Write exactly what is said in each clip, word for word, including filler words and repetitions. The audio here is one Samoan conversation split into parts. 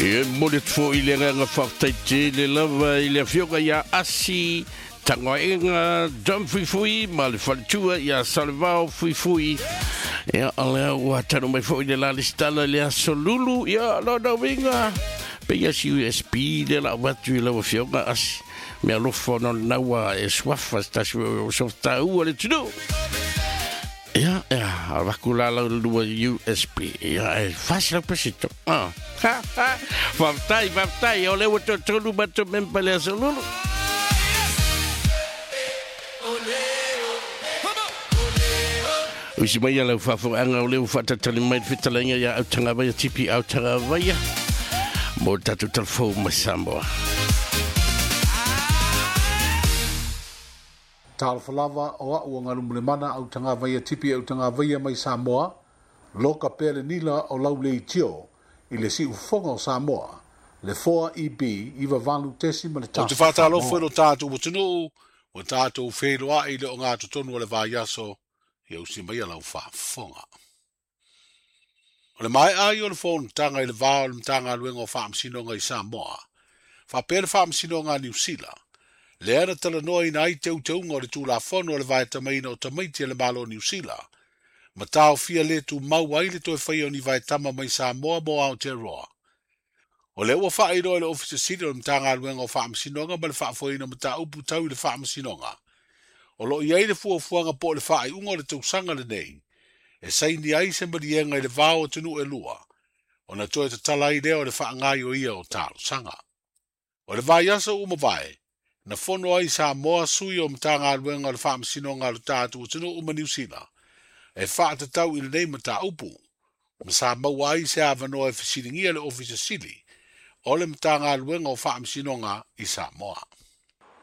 E mo le tfo i le nganga whaftai te le lava i le afioga ia Asi Tangoaenga Dom Fuifui ma le faletua ia Salevao Fuifui. Ia alea ua tanu mai foi le la listala le aso lulu ia lona uiga pe ia si U S B le la watu i lau afioga Asi mea alofa ona o lena ua e suafa se tasi o softaua le tunu. Ia, ia, avaku la lau lua U S B. Ia, e fasi lau pesito. Ah. Ha, ha. Whaftai, whaftai, o le ua totonu mato mempa le aso lulu. Usi mai lau whaafonga o leo whaatatali mai whitalenga ia Autagavaia Tipi Autagavaia mo tatu talfou mai Samoa. Talofa lava o au o Ngalumalemana Autagavaia Tipi Autagavaia mai Samoa, loka pea le nila o lau le itio i le siufofoga o Samoa, le four E B iwa valu tesi ma le O te tasi whātālofo Samoa. e lo tātou atunuu, o tātou whenua i le o ngā totonu o le vaiaso, ia usi mai a lau whaafonga. O le mai ai o le fonotaga i le vā o le Matagaluega o Faamasinoga i Samoa, faapea le Faamasinoga a Niu Sila, lea na talanoa ina ai teuteuga o le Tulafono o le vaetamaina o tamaiti a le Malo o Niu Sila, ma taofia le tumau ai le toe faia o ni vaetama mai Samoa mo Aotearoa. O lea ua faailoa i le Ofisa Sili o le Matagaluega o Faamasinoga ma le faafoeina o mataupu tau i le Faamasinoga. O loo i ai le fuafuaga po o le faaiuga o le tausaga lenei, e saini ai se maliega i le vao o atunuu e lua, ona toe tatala ai lea o le faagaioia o talosaga. O le vaiaso ua mavae, na fono ai Samoa sui o Matagaluega o le Faamasinoga a lo tatou atunuu ma Niu Sila, e faatatau i lenei mataupu, ma sa maua ai se avanoa e fesiligia le Ofisa Sili o le Matagaluega o Faamasinoga i Samoa.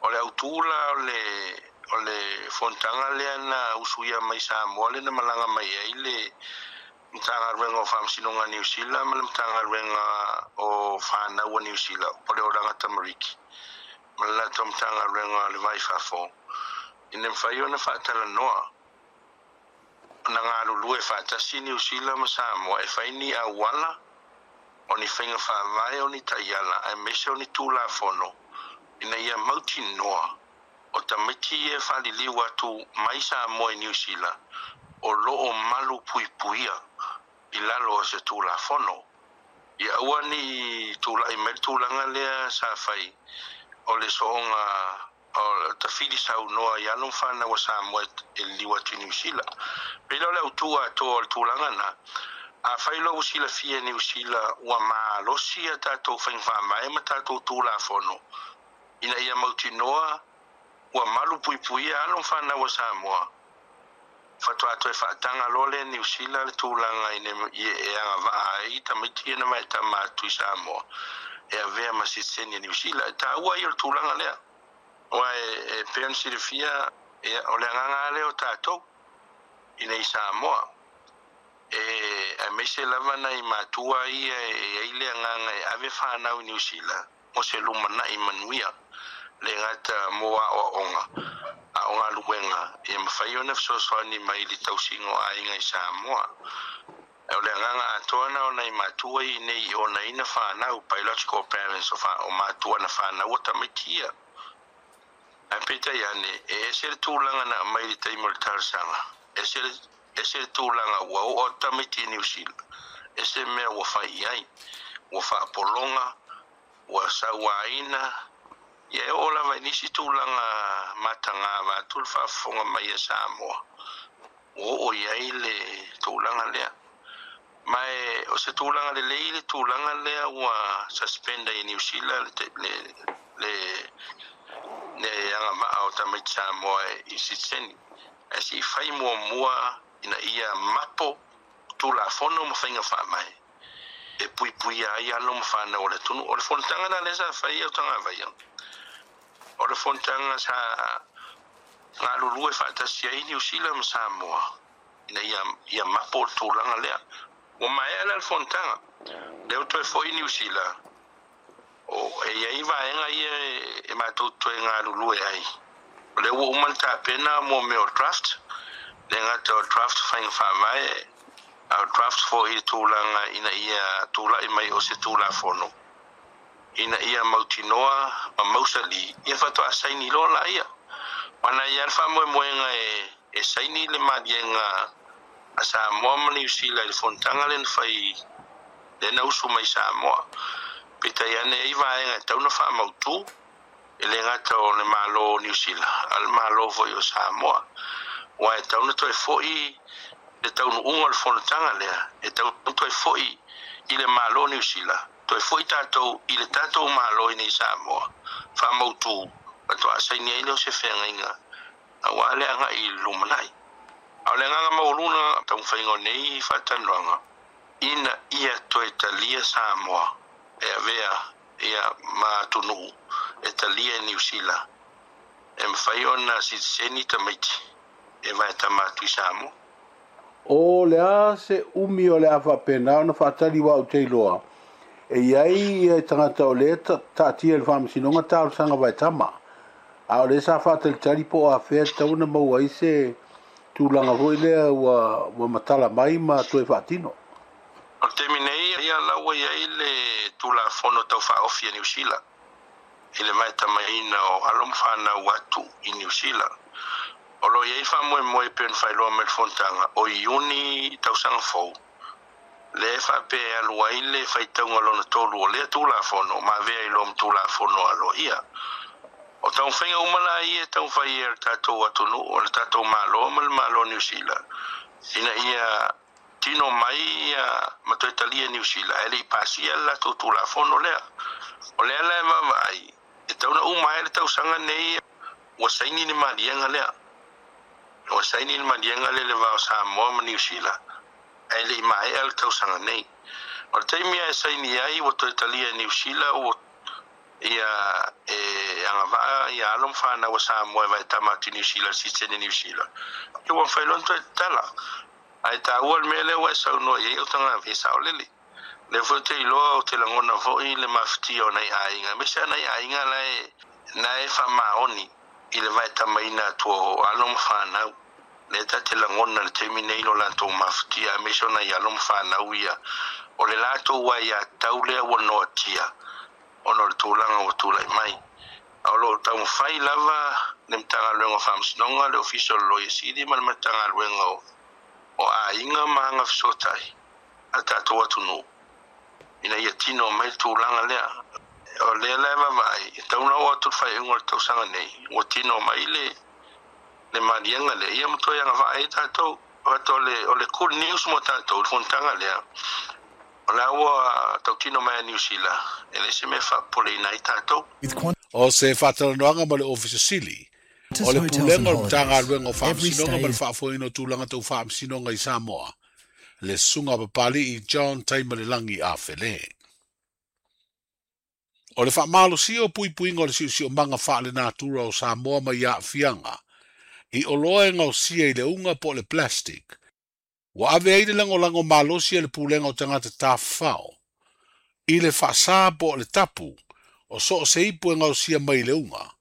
O le autula o le o le fonotaga lea na usuia mai Samoa le na malaga mai ai le Matagaluega o Faamasinoga Niu Sila ma le Matagaluega o Whanau a Niu Sila o le Oranga Tamariki ma le latou Matagaluega o le Vai Fafo. Ina mafai ona faatalanoa na galulue faatasi Niu Sila ma Samoa e fai ni auala o ni faiga faavae o ni taiala aemaise o ni tulafono ina ia mautinoa o tamaiti e faaliliu atu mai Samoa i Niu Sila o loo malu puipuia i lalo o se tulafono. Ia aua ni tula'i mai le tulaga lea sa fai o le soonga o tafili saunoa i alo ma fanau a Samoa e liliu atu i Niu Sila. Pei o le autua atoa o le tulaga na, a fai loa ua silafia e Niu Sila ua malosi a tatou faiga faavae ma tatou tulafono ina ia mautinoa ua malu puipuia alo ma fanau a Samoa. Faatoa toe faataga loa lea Niu Sila le tulaga ina e agavaa ai tamaiti na vaetama atu i Samoa e avea ma sitiseni a Niu Sila. E taua ia o le tulaga lea. Ua e, e pei ona silafia e, o le agaga lea o tatou ina i Samoa. E aemaise lava nai matua ia e ai le agaga e ave fanau i Niu Sila mo se lumanai manuia le gata mo aoaoga a o galuega e mafai ona fesoasoani mai i le tausiga o aiga i Samoa. E o le agaga atoa na o nai matua i nei i onaina fanau, biological parents o, fa, o matua na fanau o tamaiti ia. Ae peitai ane, e ese le tulaga na aumai i le taimi o le talosaga, ese le, ese le tulaga ua oo atu tamaiti i Niu Sila, ese mea ua fai i ai, ua faapologa, ua sauaina, ia e oo lava i nisi tulaga matagava atu le faafofoga mai a Samoa, ua oo i ai le tulaga lea. Ma e, o se tulaga lelei le tulaga lea ua suspenda i Niu Sila le, le, le, le agavaa o tamaiti Samoa i sitiseni. Ae sei fai muamua ina ia mapo tulafono ma faiga faavae e puipuia ai alo ma fanau o le atunuu. O le fonotaga la lea sa fai Autagavaia, o le fonotaga sa galulue faatasi ai Niu Sila ma Samoa ina ia, ia mapo le tulaga lea. Ua maea la le fonotaga, lea ua toe foi Niu Sila, o e iai vaega ia e, e matou toe galulue ai. O lea ua uma le tapena mo mea o draft, le gata o draft faiga faavae, a o draft foi i tulaga ina ia tula'i mai o se tulafono Ina ia mautinoa ma mausali ia faatoa saini loa laia. Ona ia le faamoemoega e, e saini le maliega a Samoa ma Niu Sila i le fonotaga lea na fai lea na usu mai Samoa. Peitai ane ai vaega e tatau ona faamautū e le gata o le Malo o Niu Sila a le Malo foi o Samoa. Ua e tatau ona toe fo'i le taunuuga o le fonotaga lea e tatau ona toe fo'i i le Malo o Niu Sila toe fo'i tatou i le tatou Malo i nei Samoa faamautū faatoa saini ai lea o se feagaiga auā le agai i le lumanai. A o le agaga maualuga taumafaiga o nei faatalanoaga ina ia toe talia Samoa e avea ia ma atunuu e talia e Niu Sila e mafai ona sitiseni tamaiti e vaetama atu i Samoa. O le a se umi o le a faapena ona faatali ua ou te iloa e iai ia tagata o lea taatia i le faamasinoga talosaga vaetama. A o lea sa faatalitali po o afea tatau ona maua ai se tulaga foi lea ua, ua matala mai ma toe faatino. O le taimi nei ia la ua iai le Tulafono Taufaaofi a Niu Sila i le vaetamaina o alo ma fanau atu i Niu Sila. O lo o iai faamoemoe pei ona faailoa mai le fonotaga o Iuni tausaga fou lea e faapea e alu ai le faitauga lona tolu o lea Tulafono ma avea i loa ma Tulafono aloaia. O taumafaiga uma la ia e taumafai e le tatou atunuu o le tatou Malo ma le Malo o Niu Sila ina ia tino mai ia ma toe talia Niu Sila ae le i pasia le latou Tulafono lea. O lea la e vaavaai e tatau ona uma ai le tausaga nei ua saini le maliega lea. Ua saini le maliega lea i le va o Samoa ma Niu Sila ae le i maea le tausaga nei. O le taimi e saini ai ua toe talia e Niu Sila ua ia e agavaa ia alo ma fanau a Samoa e vaetama atu i Niu Sila le sitiseni Niu Sila. Ia ua mafai loa ona toe tatala. Ae taua le mea lea ua e saunoa i ai o tagata e saolele. Lea foi ou te iloa ou te lagona foi le mafatia o nai aiga aemaise lava nai aiga la e na e faamaoni i le vaetamaina atu o alo ma fanau. Lea ta te lagona le taimi nei lo latou mafatia aemaise o nai alo ma fanau ia o le latou aiatatau lea ua noatia ona o le tulaga ua tulai mai. A o lo o taumafai lava le Matagaluega o Faamasinoga, le Ofisa o le Loia Sili ma le Matagaluega o o aiga ma agafesootai a tatou atunuu ina ia tino mai le tulaga lea. O lea la e vaavaai e tatau ona oo atu le faaiuga o le tausaga nei ua tino mai le le maliega lea ia ma toe agavaa ai tatou. O le, o le good news mo tatou le fonotaga lea o la ua tautino mai a Niu Sila e le se mea faapopoleina ai tatou. O se faatalanoaga ma le Ofisa Sili o le Pulega o le Matagaluega o Faamasinoga ma le Faafoeina o Tulaga Tau Faamasinoga i Samoa, le Susuga Papali'i John Taimalelagi Afele. O le faamalosia o puipuiga o le siosiomaga faalenatura o Samoa mai aafiaga i oloa e gaosia i le uga po o le plastic, ua ave ai le lagolago malosi a le Pulega o Tagata Tafafao i le faasā po o le tapu o so o se ipu e gaosia mai i le uga,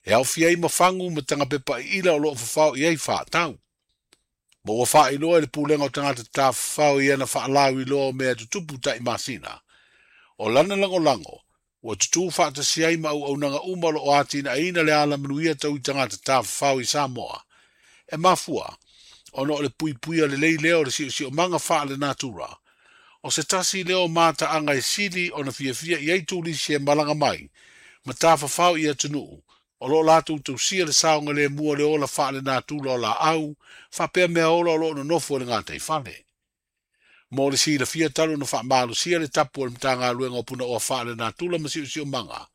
e aofia ai ma fagu ma tagapepa iila o loo fafao i ai faatau. Ma ua faailoa e le Pulega o Tagata Tafafao i ana faalauiloa o mea tutupu taimasina. O lana lagolago, ua tutū faatasi ai ma auaunaga uma o loo atinaeina le alamanuia tau i tagata tafafao i Samoa. E mafua, ona o le puipuia lelei lea o le siosiomaga faalenatura. O se tasi lea o mataaga e sili ona fiafia i ai turisi e malaga mai ma tafafao i atunuu o loo latou tausia le saogalemu o le ola faalenatura o laau faapea mea ola o loo nonofo i le gataifale. Mo le silafia talu ona faamalosia le tapu o le Matagaluega o Punaoa Faalenatura ma Siosiomaga,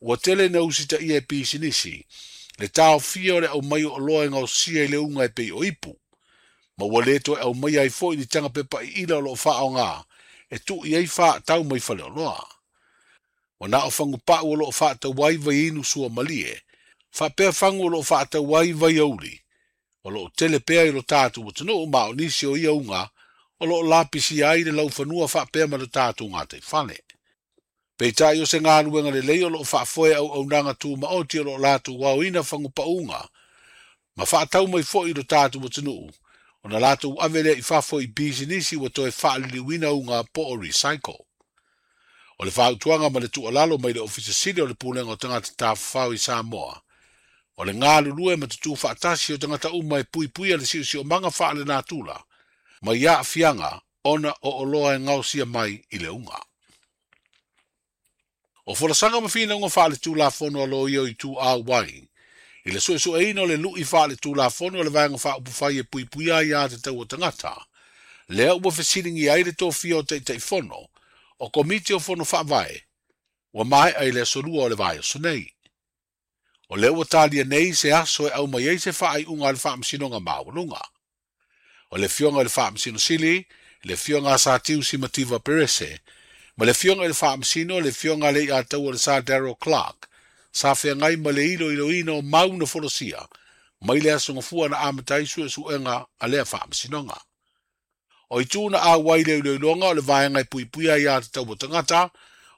ua tele ina usitaia e pisinisi le taofia o le aumai o oloa e gaosia i le uga e pei o ipu, ma ua le toe aumaia ai foi ni tagapepa iila o loo faaoga e tuu i ai faatau mai faleoloa. Ua na o fagupau o loo faatau ai vaiinu suamalie, faapea fagu o loo faatau ai vaiauli, o loo tele pea i lo tatou atunuu ma o nisi o ia uga o loo lapisia ai le laufanua faapea ma le tatou gataifale. Peitai o se galuega lelei o loo faafoe auaunaga tumaoti o loo latou aoina fagupauga ma faatau mai foi i lo tatou atunuu ona latou ave lea i fafo i pisinisi ua toe faaliliuina uga po o recycle. O le fautuaga ma le tuualalo mai le Ofisa Sili o le Pulega o Tagata Tafafao i Samoa, o le galulue ma tutū faatasi o tagata uma e puipuia le siosiomaga faalenatura, mai aafiaga ona o oloa e gaosia mai i le uga. O folasaga ma finauga faaletulafono a loia o itu auai, i le suesueina o le lu'i faaletulafono o le vaega faaupufai e puipuia ai aiatatau a tagata, lea ua fesiligia ai le tofia o Taitaifono, o Komiti o Fono Faavae, ua maea i le aso lua o le vaiaso nei. O lea ua talia nei se aso e aumai ai se faaiuga a le Faamasinoga Maualuga. O le afioga i le Faamasino Sili, le afioga a Satiu Simativa Perese, ma le afioga i le Faamasino, le afioga a le Iataua le Sa Daryl Clark, sa feagai ma le iloiloina o mau na folasia, mai le aso gafua na amata ai suesuega a lea Faamasinoga. O itu na auai le iloiloga o le vaega e puipuia ai aiatatau a tagata,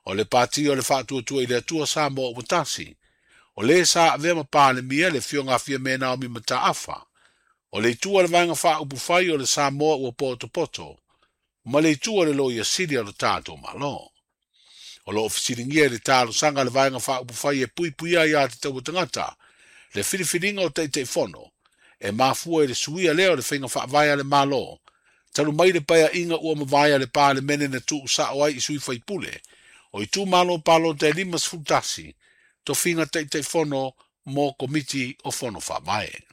o le pati o le faatuatua i le Atua Samoa ua tasi, o le sa avea ma Palemia le afioga a Fiame Naomi Mataafa, o le itu a le vaega faaupufai o le Samoa ua potopoto, ma le itu a le Loia Sili o le tatou Malo. O loo fesiligia i le talosaga a le vaega faaupufai e puipuia ai aiatatau a tagata, le filifiliga o Taitaifono, e mafua i le suia lea o le faiga faavae a le Malo, talu mai le paeaiga ua mavae a le Palemene na tuusao ai i sui faipule, o itumalo palota e lima sefulu tasi, tofiga Taitaifono mo Komiti o Fono Faavae.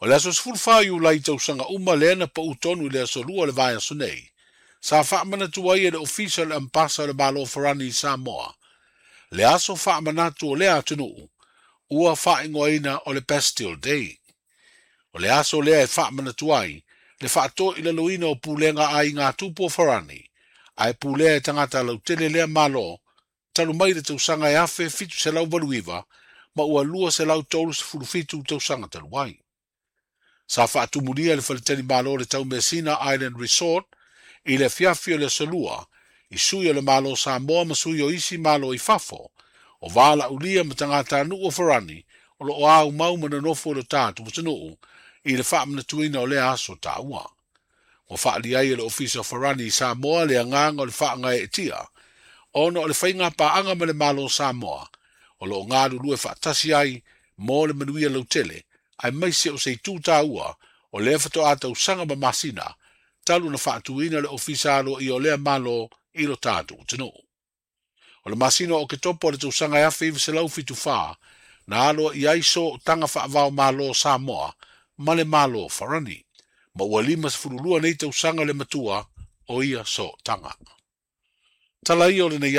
O le aso sefulufa Iulai tausaga uma lea na pau tonu i le aso lua o le vaiaso nei, sa faamanatu ai e le Ofisa o le Ambasa o le Malo Farani i Samoa, le aso faamanatu o lea atunuu, ua faaigoaina o le Bastille Day. O le aso lea e faamanatu ai, le faatoilaloina o pulega a aiga tupu o Farani, ae pulea e tagata lautele lea Malo, talu mai le tausaga e afe fitu selau valu iva, ma ua lua selau tolu sefulu fitu tausaga talu ai. Sa faatumulia le faletalimalo le Taumeasina Island Resort i le afiafi o le aso lua, i sui o le Malo Samoa ma sui o isi malo i fafo, o valaulia ma tagatanuu o Farani, o loo aumau ma nonofo i lo tatou atunuu, i le faamanatuina o lea aso taua. Ua faaali ai e le Ofisa o Farani i Samoa le agaga o le faagaeetia, ona o le faiga paaga ma le Malo Samoa, o loo galulue faatasi ai mo le manuia lautele, aemaise o se itu taua o lea faatoa tausaga ma masina, talu na faatuina le ofisa aloaia o lea Malo i lo tatou atunuu. O le masina o Oketopa o le tausaga e afe iva selau fitu fa, na aloaia ai sootaga faavao Malo Samoa ma le Malo Farani, ma ua lima sefulu lua nei tausaga le matua o ia sootaga. Tala ia o lenei.